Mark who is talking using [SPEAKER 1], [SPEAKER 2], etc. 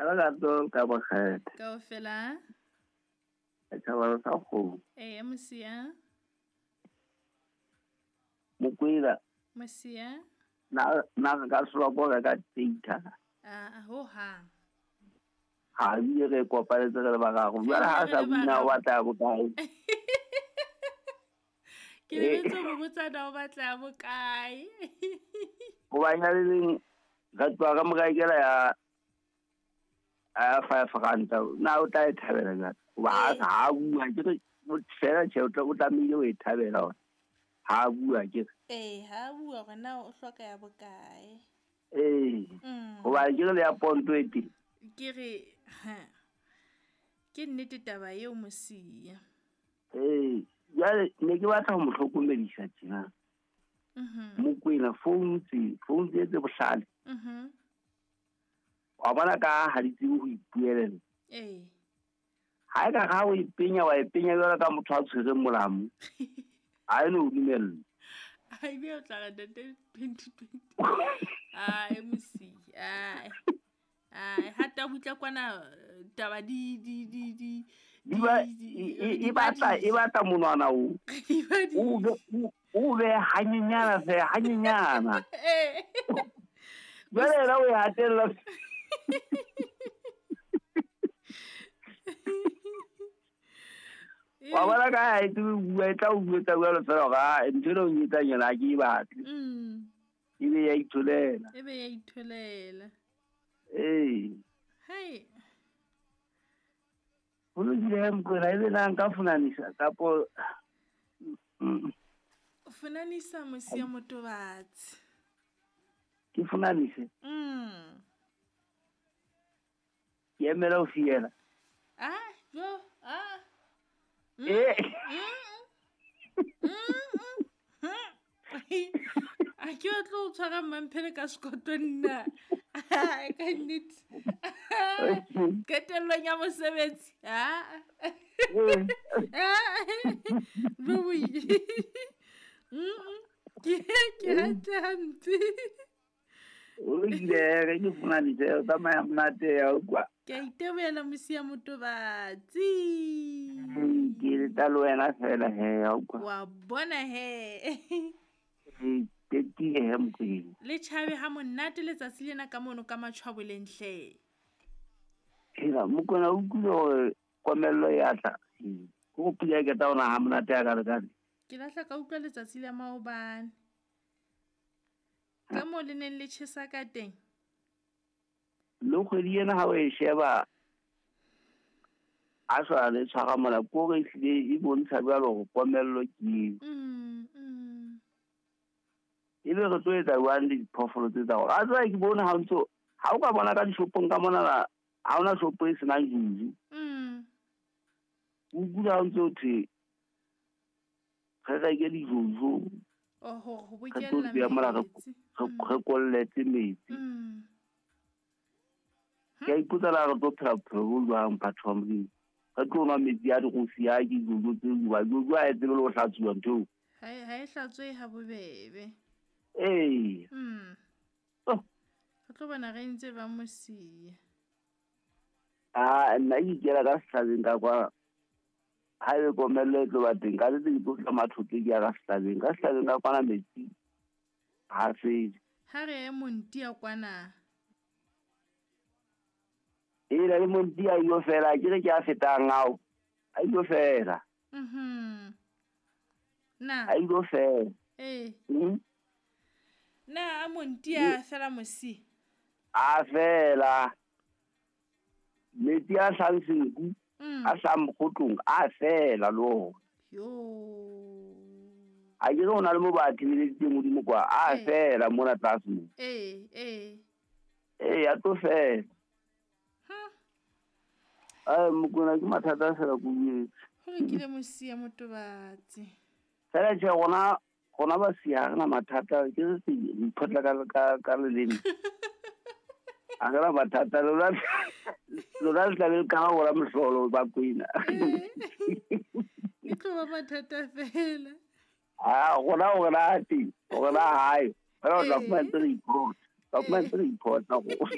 [SPEAKER 1] Lerato ka bokgetha.
[SPEAKER 2] Kaofela.
[SPEAKER 1] Setjhaba sa kgomo.
[SPEAKER 2] Ee, mosia.
[SPEAKER 1] Mokwena.
[SPEAKER 2] Mosia.
[SPEAKER 1] Na na re ka solwa ko reka data.
[SPEAKER 2] A ho hang.
[SPEAKER 1] Ha ebile re kopanetse re le bararo. Jwale ha sa bina o batla ya bokae?
[SPEAKER 2] Ke lebetse ho botsa na o batla ya bokae.
[SPEAKER 1] Hobane le leng re tloha re mo rekela ya 5 ranta. Na o tla e thabela jwang? Hoba ha sa ha bua ke re fela tjhe o tlamehile ho e thabela hore ha bua ke re.
[SPEAKER 2] Ee, ha bua hore na o hloka ya bokae.
[SPEAKER 1] Ee. Hoba ke re le ya ponto e teng.
[SPEAKER 2] Ke re ke nnete taba eo mosia.
[SPEAKER 1] Ee, jwale ne ke batla ho mo hlokomedisa tjena. Mokwena phone tse tse bohlale. Wa bona ka ha di tsebe ho ipuelela.
[SPEAKER 2] Ee.
[SPEAKER 1] Ha e ka ha o e penya wa e penya jwalo ka motho a tshwereng molamu. Ha e no dumella.
[SPEAKER 2] Ai be o tla re ntate 2020. Ai mosia. Ai. Ai hata butla kwana taba di di di di
[SPEAKER 1] e batla monwana o. O be hanyenyana fe hanyenyana.
[SPEAKER 2] Eh.
[SPEAKER 1] Jwale yena o e hatella. Wa bona ka ha e tsebe ho bua e tla o buetsa jwalo fela hore ntho ena o etsang yona ha ke e batle. Ebe ya itholela.
[SPEAKER 2] Ebe ya itholela.
[SPEAKER 1] Ee.
[SPEAKER 2] Hai.
[SPEAKER 1] Ho lokile he Mokwena ebe na nka funanisa kapo.
[SPEAKER 2] Funanisa mosia motobatsi.
[SPEAKER 1] Ke funanise? Ke emela ho fiela.
[SPEAKER 2] Ah, jo, ah.
[SPEAKER 1] Eh.
[SPEAKER 2] A ke batle ho tshwara mmamphele ka sekoto nna. Ka nnete. Qetellong ya mosebetsi. Ah. Boboi. Ke hantle hampe.
[SPEAKER 1] O lokile re ke funanise o tsamaya monate ya utlwa.
[SPEAKER 2] Ke a itebohela mosia motobatsi.
[SPEAKER 1] Ke leta le wena fela he ya utlwa.
[SPEAKER 2] Wa bona he.
[SPEAKER 1] Ke tiile he Mokwena.
[SPEAKER 2] Le tjhabe ha monate letsatsi lena ka mono ka matjhwaboleng hle.
[SPEAKER 1] Hela Mokwena o utlwile hore komello e a tla. Ko pula e qeta hona ha monate ya ka lekane.
[SPEAKER 2] Ke lahla ka utlwa letsatsi la maobane. Ka moo le neng le tjhesa ka teng.
[SPEAKER 1] Le kgwedi ena ha o e sheba a sa le tshwara mola ko re ehlile e bontsha jwalo hore komello ke eo. Ebe re tlo etsa jwang le diphoofolo tse tsa rona? A tseba ke bone ha ntso ha o ka bona ka dishopong ka mona ha hona shopo e senang juju. O kula ha ntso thwe re reke dijojo.
[SPEAKER 2] Oh, ho
[SPEAKER 1] Re tlo
[SPEAKER 2] bokella
[SPEAKER 1] di beha mola
[SPEAKER 2] metsi.
[SPEAKER 1] re kolletse metsi. Ke a ipotsa na re tlo phela bophelo bo jwang batho ba Modimo. Re tlo nwa metsi a dirofi a ke dijojo tse hoba jojo ha e tsebe le ho hlatsuwa ntho eo.
[SPEAKER 2] Ha e hlatswe ha bobebe.
[SPEAKER 1] Ee. Oh.
[SPEAKER 2] Re tlo bona re ntse ba mosia.
[SPEAKER 1] Ah, nna ke ikela ka sehlabeng ka kwa. Ha ebe komello e tlo ba teng, ka nnete ke tlo tla mathoto ke ya ka sehlabeng. Ka sehlabeng ka kwana metsi ha fele.
[SPEAKER 2] Ha re ye Montia kwana.
[SPEAKER 1] Ee, le Montia a ilo fela, ke re ke a fetang ao. A ilo fela.
[SPEAKER 2] Na.
[SPEAKER 1] A ilo fela.
[SPEAKER 2] Ee. Na a Montia a fela mosi?
[SPEAKER 1] A fela. Metsi a hlang senku. A hlang mokgotlong a fela le ona.
[SPEAKER 2] Yo.
[SPEAKER 1] A ke re ho na le mo ba thibeleditseng hodimo kwa, a fela mona tlase mo.
[SPEAKER 2] Ee, ee.
[SPEAKER 1] Ee, a tlo fela. Ai Mokwena ke mathata fela ko buetse.
[SPEAKER 2] Ho lokile mosia motobatsi.
[SPEAKER 1] Fela tjhe rona ba sia ha re na mathata ke re se iphotla ka leleme. A re na mathata lona le tla be le ka hora mohlolo ba Kwena.
[SPEAKER 2] E tlo ba mathata fela.
[SPEAKER 1] Ah, rona teng, rona hae. Fela o tla fumana ntse re iphotla. Tla fumana ntse re iphotla rona.